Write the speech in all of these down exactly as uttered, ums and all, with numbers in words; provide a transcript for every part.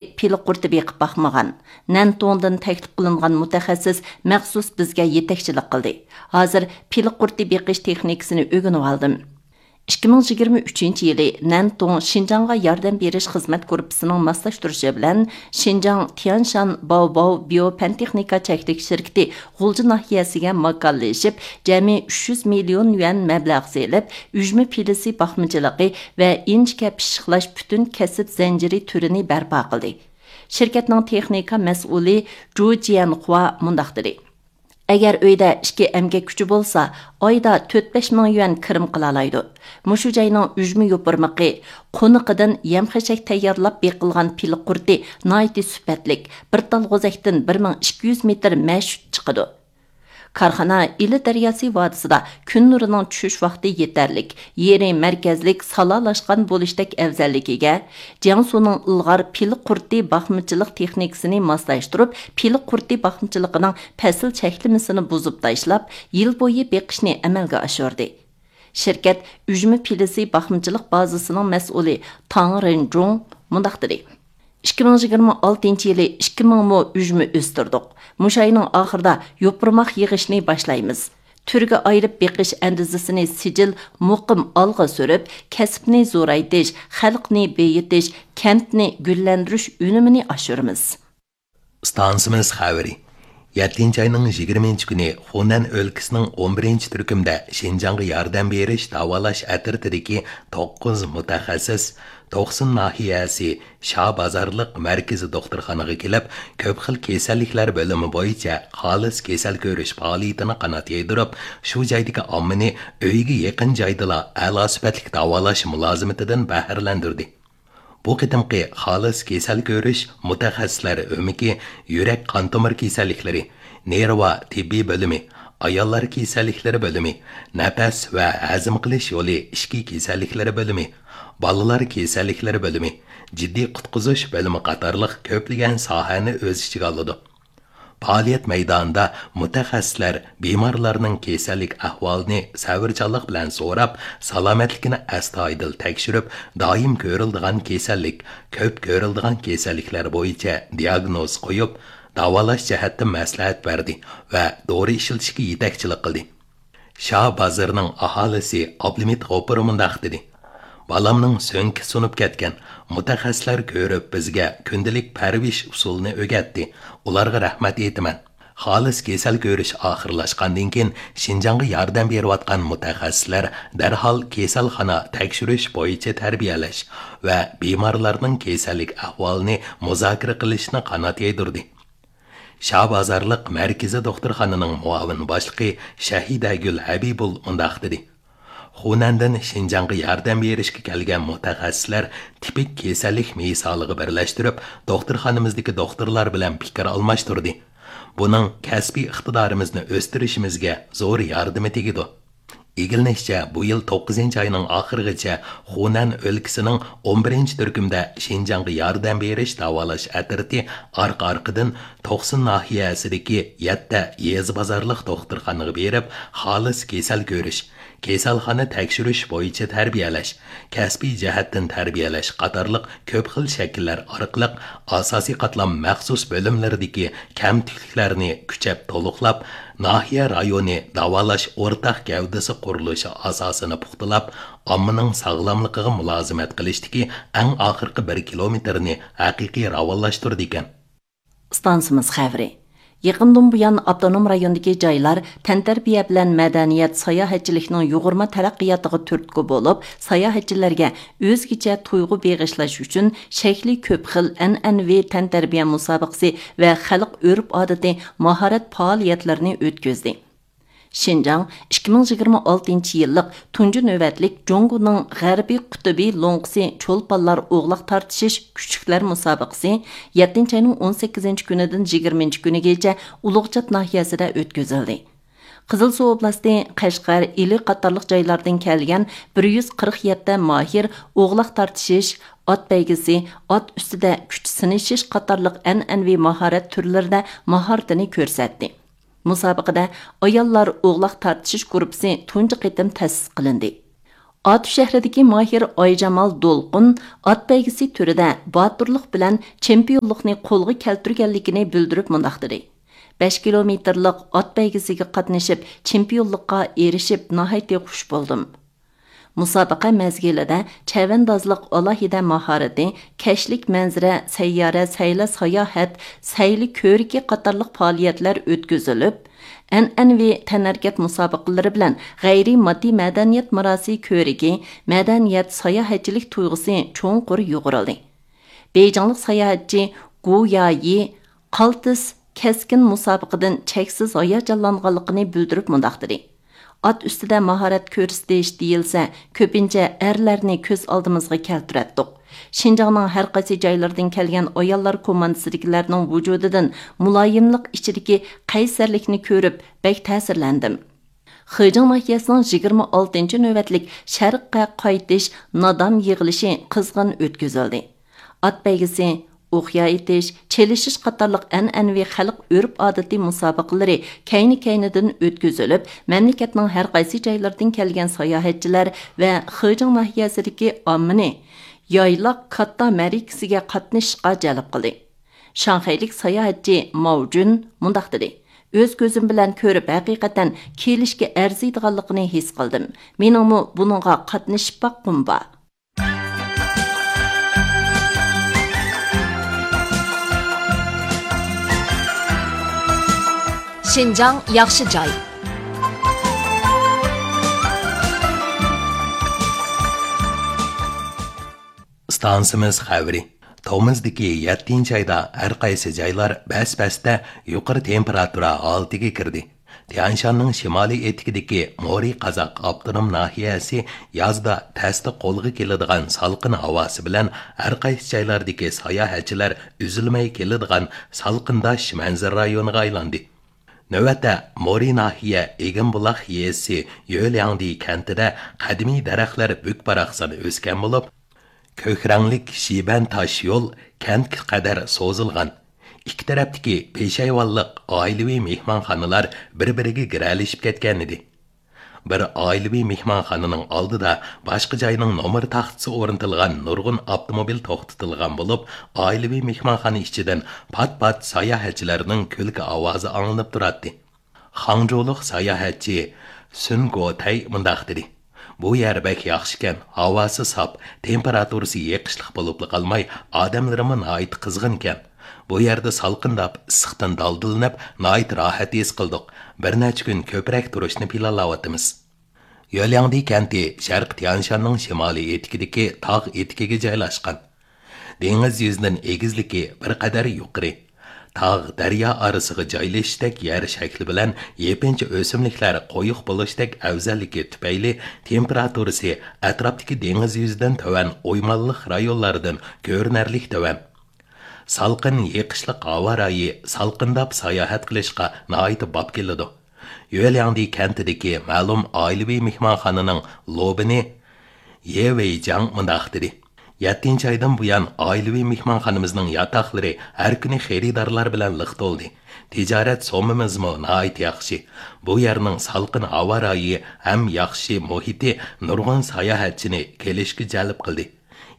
پىلە قۇرتى بېقىپ باقمىغان. نەنتوڭدىن تەكلىپ قىلىنغان مۇتەخەسسىس مەخسۇس بىزگە يېتەكچىلىك قىلدى. ھازىر پىلە قۇرتى بېقىش تېخنىكىسىنى ئۆگىنىۋالدىم. ئىككى مىڭ يىگىرمە ئۈچىنچى يىلى نەنتوڭ شىنجاڭغا ياردەم بېرىش خىزمەت گۇرۇپپىسىنىڭ ماسلاشتۇرۇشى بىلەن شىنجاڭ تيەنشان باۋباۋ بىيو پەن تېخنىكا چەكلىك شىركىتى غۇلجا ناھىيەسىگە ماكانلىشىپ، جەمئىي ئۈچ يۈز مىليون يۈەن مەبلەغ سېلىپ، ئۈجمە پىلىسى باقمىچىلىقى ۋە ئىنچىكە پىششىقلاش پۈتۈن كەسىپ زەنجىرى تۈرىنى بەرپا قىلدى. شىركەتنىڭ تېخنىكا مەسئۇلى جۇ جيەنخۇا مۇنداق دېدى: ئەگەر ئۆيدە ئىككى ئەمگەك كۈچى بولسا، ئايدا تۆت بەش مىڭ يۈەن كىرىم قىلالايدۇ. مۇشۇ جاينىڭ ئۈجمە يوپۇرمىقى، قونىقىدىن يەم-خەشەك تەييارلاپ بېقىلغان پىلە قۇرتى ناھايىتى سۈپەتلىك، بىر تال غوزەكتىن بىر مىڭ ئىككى يۈز مېتىر مەش چىقىدۇ. كارخانا ئىلى دەرياسى ۋادىسىدا كۈن نۇرىنىڭ چۈشۈش ۋاقتى يېتەرلىك، يېرى مەركەزلىك سالالاشقان بولۇشتەك ئەۋزەللىكىگە، جياڭسۇنىڭ ئىلغار پىلە قۇرتى باقمىچىلىق تېخنىكىسىنى ماسلاشتۇرۇپ، پىلە قۇرتى باقمىچىلىقىنىڭ پەسىل چەكلىمىسىنى بۇزۇپ تاشلاپ، يىل بويى بېقىشنى ئەمەلگە ئاشۇردى. شىركەت ئۈجمە پىلىسى باقمىچىلىق بازىسىنىڭ مەسئۇلى تاڭ رېنجۇڭ مۇنداق دېدى: ئىككى مىڭ يىگىرمە ئالتىنچى يىلى ئىككى مىڭ مو ئۈجمە ئۆستۈردۇق. مۇشۇ ئاينىڭ ئاخىرىدا يوپۇرماق يىغىشنى باشلايمىز. تۈرگە ئايرىپ بېقىش ئەندىزىسىنى سىجىل مۇقىم ئالغا سۈرۈپ، كەسىپنى زورايتىش، خەلقنى بېيىتىش، كەنتنى گۈللەندۈرۈش ئۈنۈمىنى ئاشۇرىمىز. ئىستانسىمىز خەۋىرى. يەتتىنچى ئاينىڭ يىگىرمىنچى كۈنى خۇنەن ئۆلكىسىنىڭ ئون بىرىنچى تۈركۈمدە شىنجاڭغا ياردەم بېرىش داۋالاش ئەترىتىدىكى توققۇز مۇتەخەسسىس توقسۇن ناھىيەسى شا بازارلىق مەركىزىي دوختۇرخانىغا كېلىپ، كۆپ خىل كېسەللىكلەر بۆلۈمى بويىچە خالىس كېسەل كۆرۈش پائالىيىتىنى قانات يايدۇرۇپ، شۇ جايدىكى ئاممىنى ئۆيىگە يېقىن جايدىلا ئەلا سۈپەتلىك داۋالاش مۇلازىمىتىدىن بەھرىلەندۈردى. بۇ قېتىمقى خالىس كېسەل كۆرۈش مۇتەخەسسىسلەر ئۆمىكى يۈرەك قان تومۇر كېسەللىكلىرى، نېرۋا تېببىي بۆلۈمى، ئاياللار كېسەللىكلىرى بۆلۈمى، نەپەس ۋە ھەزىم قىلىش يولى ئىچكى كېسەللىكلىرى بۆلۈمى، بالىلار كېسەللىكلىرى بۆلۈمى، جىددىي قۇتقۇزۇش بۆلۈمى قاتارلىق كۆپلىگەن ساھەنى ئۆز ئىچىگە ئالىدۇ. پائالىيەت مەيدانىدا مۇتەخەسسىسلەر بىمارلارنىڭ كېسەللىك ئەھۋالىنى سەۋرچانلىق بىلەن سوراپ، سالامەتلىكىنى ئەستايىدىل تەكشۈرۈپ، دائىم كۆرۈلىدىغان كېسەللىك، كۆپ كۆرۈلىدىغان كېسەللىكلەر بويىچە دىياگنوز قويۇپ، داۋالاش جەھەتتە مەسلىھەت بەردى ۋە دورا ئىشلىتىشكە يېتەكچىلىك قىلدى. شا بازىرىنىڭ ئاھالىسى ئابلىمىت غوپۇر مۇنداق دېدى: بالامنىڭ سۆڭىكى سۇنۇپ كەتكەن، مۇتەخەسسىسلەر كۆرۈپ بىزگە كۈندىلىك پەرۋىش ئۇسۇلىنى ئۆگەتتى، ئۇلارغا رەھمەت ئېيتىمەن. خالىس كېسەل كۆرۈش ئاخىرلاشقاندىن كېيىن، شىنجاڭغا ياردەم بېرىۋاتقان مۇتەخەسسىسلەر دەرھال كېسەلخانا تەكشۈرۈش بويىچە تەربىيەلەش ۋە بىمارلارنىڭ كېسەللىك ئەھۋالىنى مۇزاكىرە قىلىشنى قانات يايدۇردى. شا بازارلىق مەركىزىي دوختۇرخانىنىڭ مۇئاۋىن باشلىقى شەھىدەگۈل ھەبىبۇل مۇنداق دېدى: خۇنەندىن شىنجاڭغا ياردەم بېرىشكە كەلگەن مۇتەخەسسىسلەر تىپىك كېسەللىك مىسالىغا بىرلەشتۈرۈپ، دوختۇرخانىمىزدىكى دوختۇرلار بىلەن پىكىر ئالماشتۇردى. بۇنىڭ كەسپىي ئىقتىدارىمىزنى ئۆستۈرۈشىمىزگە زور ياردىمى تېگىدۇ. ئىگىلىنىشىچە، بۇ يىل توققۇزىنچى ئاينىڭ ئاخىرىغىچە خۇنەن ئۆلكىسىنىڭ ئون بىرىنچى تۈركۈمدە شىنجاڭغا ياردەم بېرىش داۋالاش ئەترىتى ئارقا-ئارقىدىن توقسۇن ناھىيەسىدىكى يەتتە يېزا بازارلىق دوختۇرخانىغا بېرىپ، خالىس كېسەل كۆرۈش، كېسەلخانا تەكشۈرۈش بويىچە تەربىيەلەش، كەسپىي جەھەتتىن تەربىيەلەش قاتارلىق كۆپ خىل شەكىللەر ئارقىلىق ئاساسىي قاتلام مەخسۇس بۆلۈملىرىدىكى كەمتۈكلۈكلەرنى كۈچەپ تولۇقلاپ، ناھىيە رايونى داۋالاش ئورتاق گەۋدىسى قۇرۇلۇشى ئاساسىنى پۇختىلاپ، ئاممىنىڭ ساغلاملىقىغا مۇلازىمەت قىلىشتىكى ئەڭ ئاخىرقى بىر كىلومېتىرنى ھەقىقىي راۋانلاشتۇرىدىكەن. ئىستانسىمىز خەۋىرى. يېقىندىن بۇيان، ئاپتونوم رايوندىكى جايلار تەنتەربىيە بىلەن مەدەنىيەت، ساياھەتچىلىكنىڭ يۇغۇرما تەرەققىياتىغا تۈرتكە بولۇپ، ساياھەتچىلەرگە ئۆزگىچە تۇيغۇ بېغىشلاش ئۈچۈن شەكلى كۆپ خىل ئەنئەنىۋى تەنتەربىيە مۇسابىقىسى ۋە خەلق ئۆرپ-ئادىتى ماھارەت پائالىيەتلىرىنى ئۆتكۈزدى. شىنجاڭ ئىككى مىڭ يىگىرمە ئالتىنچى يىللىق تۇنجى نۆۋەتلىك جۇڭگونىڭ غەربىي قۇتۇبى لوڭقىسى چولپانلار ئوغلاق تارتىشىش كۈچلۈكلەر مۇسابىقىسى يەتتىنچى ئاينىڭ ئون سەككىزىنچى كۈنىدىن يىگىرمىنچى كۈنىگىچە ئۇلۇغچات ناھىيەسىدە ئۆتكۈزۈلدى. قىزىلسۇ ئوبلاستى، قەشقەر، ئىلى قاتارلىق جايلاردىن كەلگەن بىر يۈز قىرىق يەتتە ماھىر ئوغلاق تارتىشىش، ئات بەيگىسى، ئات ئۈستىدە كۈچ سىنىشىش قاتارلىق ئەنئەنىۋى ماھارەت تۈرلىرىدە ماھارىتىنى كۆرسەتتى. مۇسابىقىدە ئاياللار ئوغلاق تارتىشىش گۇرۇپپىسى تۇنجى قېتىم تەسىس قىلىندى. ئاتۇ شەھىرىدىكى ماھىر ئايجامال دولقۇن ئات بەيگىسى تۈرىدە باتۇرلۇق بىلەن چېمپىيونلۇقنى قولغا كەلتۈرگەنلىكىنى بىلدۈرۈپ مۇنداق دېدى: «بەش كىلومېتىرلىق ئات بەيگىسىگە قاتنىشىپ، چېمپىيونلۇققا ئېرىشىپ، ناھايىتى خۇش بولدۇم.» مۇسابىقە مەزگىلىدە چەۋەندازلىق ئالاھىدە ماھارىتى، كەچلىك مەنزىرە، سەييارە، سەيلە ساياھەت، سەيلە كۆرىكى قاتارلىق پائالىيەتلەر ئۆتكۈزۈلۈپ، ئەنئەنىۋى تەنھەرىكەت مۇسابىقىلىرى بىلەن غەيرىي ماددىي مەدەنىيەت مىراسى كۆرىكى، مەدەنىيەت، ساياھەتچىلىك تۇيغۇسى چوڭقۇر يۇغۇرۇلدى. بېيجىڭلىق ساياھەتچى گۇ يايى قالتىس كەسكىن مۇسابىقىدىن چەكسىز ھاياجانلانغانلىقىنى بىلدۈرۈپ مۇنداق دېدى: «ئات ئۈستىدە ماھارەت كۆرسىتىش دېيىلسە، كۆپىنچە ئەرلەرنى كۆز ئالدىمىزغا كەلتۈرەتتۇق. شىنجاڭنىڭ ھەر قايسى جايلىرىدىن كەلگەن ئاياللار كوماندىسىدىكىلەرنىڭ ۋۇجۇدىدىن مۇلايىملىق ئىچىدىكى قەيسەرلىكنى كۆرۈپ، بەك تەسىرلەندىم.» خېجىڭ ناھىيەسىنىڭ يىگىرمە ئالتىنچى نۆۋەتلىك شەرققە قايتىش نادام يىغىلىشى قىزغىن ئۆتكۈزۈلدى. ئات بەيگىسى، ئوقيا ئېتىش، چېلىشىش قاتارلىق ئەنئەنىۋى خەلق ئۆرپ-ئادىتى مۇسابىقىلىرى كەينى-كەينىدىن ئۆتكۈزۈلۈپ، مەملىكەتنىڭ ھەر قايسى جايلىرىدىن كەلگەن ساياھەتچىلەر ۋە خېجىڭ ناھىيەسىدىكى ئاممىنى يايلاق كاتتا مەرىكىسىگە قاتنىشىشقا جەلپ قىلدى. شاڭخەيلىك ساياھەتچى ماۋجۈن مۇنداق دېدى: «ئۆز كۆزۈم بىلەن كۆرۈپ، ھەقىقەتەن كېلىشكە ئەرزىيدىغانلىقىنى ھېس قىلدىم. مېنىڭمۇ بۇنىڭغا قاتنىشىپ باققۇم بار.» شىنجاڭ ياخشى جاي. ئىستانسىمىز خەۋىرى. تومۇزدىكى يەتتىنچى ئايدا ھەر قايسى جايلار بەس-بەستە يۇقىرى تېمپېراتۇرا ھالىتىگە كىردى. تيەنشاننىڭ شىمالىي ئېتىكىدىكى مورى قازاق ئاپتونوم ناھىيەسى يازدا تەستە قولغا كېلىدىغان سالقىن ھاۋاسى بىلەن ھەر قايسى جايلاردىكى ساياھەتچىلەر ئۈزۈلمەي كېلىدىغان سالقىنداش مەنزىرە رايونىغا ئايلاندى. نۆۋەتتە مورى ناھىيە ئېگىنبۇلاق يېزىسى يۆلياڭدى كەنتىدە قەدىمىي دەرەخلەر بۈك-باراقسان ئۆسكەن بولۇپ، كۆك رەڭلىك شىبەن تاش يول كەنتكە قەدەر سوزۇلغان. ئىككى تەرەپتىكى پېشايۋانلىق ئائىلىۋى مېھمانخانىلار بىر-بىرىگە گىرەلىشىپ كەتكەنىدى. بىر ئائىلىۋى مېھمانخانىنىڭ ئالدىدا باشقا جاينىڭ نومۇر تاختىسى ئورنىتىلغان نۇرغۇن ئاپتوموبىل توختىتىلغان بولۇپ، ئائىلىۋى مېھمانخانا ئىچىدىن پات-پات ساياھەتچىلەرنىڭ كۈلكە ئاۋازى ئاڭلىنىپ تۇراتتى. خاڭجۇلۇق ساياھەتچى سۈن گوتەي مۇنداق دېدى: «بۇ يەر بەك ياخشىكەن، ھاۋاسى ساپ، تېمپېراتۇرىسى يېقىشلىق بولۇپلا قالماي، ئادەملىرىمۇ ناھايىتى قىزغىنكەن. بۇ يەردە سالقىنداپ، ئىسسىقتىن دالدىلىنىپ، ناھايىتى راھەت ھېس قىلدۇق. بىر نەچچە كۈن كۆپرەك تۇرۇشنى پىلانلاۋاتىمىز.» يۆلياڭدى كەنتى شەرقىي تيانشاننىڭ شىمالىي ئېتىكىدىكى تاغ ئېتىكىگە جايلاشقان. دېڭىز يۈزىدىن ئېگىزلىكى بىر قەدەر يۇقىرى. تاغ، دەريا ئارىسىغا جايلىشىشتەك يەر شەكلى بىلەن يېپىنچا ئۆسۈملۈكلەر قويۇق بولۇشتەك ئەۋزەللىكى تۈپەيلى تېمپېراتۇرىسى ئەتراپتىكى دېڭىز يۈزىدىن تۆۋەن ئويمانلىق رايونلاردىن كۆرۈنەرلىك تۆۋەن. سالقىن يېقىشلىق ھاۋا رايى سالقىنداپ ساياھەت قىلىشقا ناھايىتى باب كېلىدۇ. يۆلياڭدى كەنتىدىكى مەلۇم ئائىلىۋى مېھمانخانىنىڭ لوبىنى يې ۋېيجاڭ مۇنداق دېدى: «يەتتىنچى ئايدىن بۇيان، ئائىلىۋى مېھمانخانىمىزنىڭ ياتاقلىرى ھەر كۈنى خېرىدارلار بىلەن لىق تولدى. تىجارەت سوممىمىزمۇ ناھايىتى ياخشى. بۇ يەرنىڭ سالقىن ھاۋا رايى ھەم ياخشى مۇھىتى نۇرغۇن ساياھەتچىنى كېلىشكە جەلپ قىلدى.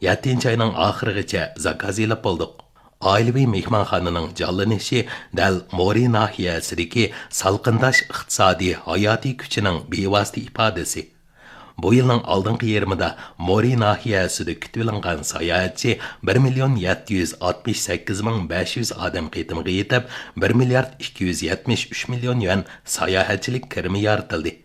يەتتىنچى ئاينىڭ ئاخىرىغىچە زاكاز ئېلىپ بولدۇق.» ئائىلىۋى مېھمانخانىنىڭ جانلىنىشى دەل مورى ناھىيەسىدىكى سالقىنداش ئىقتىسادىي ھاياتىي كۈچىنىڭ بىۋاسىتە ئىپادىسى. بۇ يىلنىڭ ئالدىنقى يېرىمىدا مورى ناھىيەسىدە كۈتۈۋېلىنغان ساياھەتچى بىر مىليون يەتتە يۈز ئاتمىش سەككىز مىڭ بەش يۈز ئادەم قېتىمىغا يېتىپ، بىر مىليارد ئىككى يۈز يەتمىش ئۈچ مىليون يۈەن ساياھەتچىلىك كىرىمى يارىتىلدى.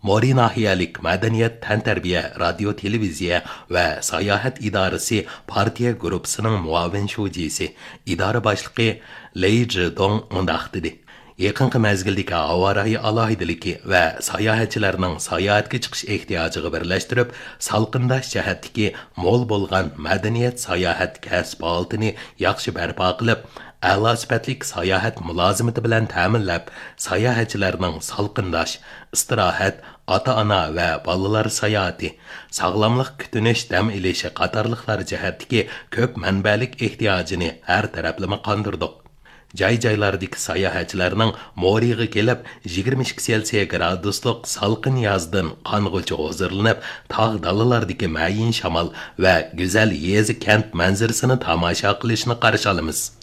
مورى ناھىيەلىك مەدەنىيەت، تەنتەربىيە، رادىيو، تېلېۋىزىيە ۋە ساياھەت ئىدارىسى پارتىيە گۇرۇپپىسىنىڭ مۇئاۋىن شۇجىسى، ئىدارە باشلىقى لېي جىدوڭ مۇنداق دېدى: «يېقىنقى مەزگىلدىكى ھاۋا رايى ئالاھىدىلىكى ۋە ساياھەتچىلەرنىڭ ساياھەتكە چىقىش ئېھتىياجىغا بىرلەشتۈرۈپ، سالقىنداش جەھەتتىكى مول بولغان مەدەنىيەت ساياھەت كەسىپ ھالىتىنى ياخشى بەرپا قىلىپ، ئەلا سۈپەتلىك ساياھەت مۇلازىمىتى بىلەن تەمىنلەپ، ساياھەتچىلەرنىڭ سالقىنداش، ئىستىراھەت، ئاتا-ئانا ۋە بالىلار ساياھىتى، ساغلاملىق كۈتۈنۈش دەم ئېلىشى قاتارلىقلار جەھەتتىكى كۆپ مەنبەلىك ئېھتىياجىنى ھەر تەرەپلىمە قاندۇردۇق. جاي-جايلاردىكى ساياھەتچىلەرنىڭ مورىغا كېلىپ، يىگىرمە ئىككى سېلسىيە گرادۇسلۇق سالقىن يازدىن قانغۇچە ھۇزۇرلىنىپ، تاغ دالىلاردىكى مەيىن شامال ۋە گۈزەل يېزا-كەنت مەنزىرىسىنى تاماشا قىلىشنى قارشى ئالىمىز.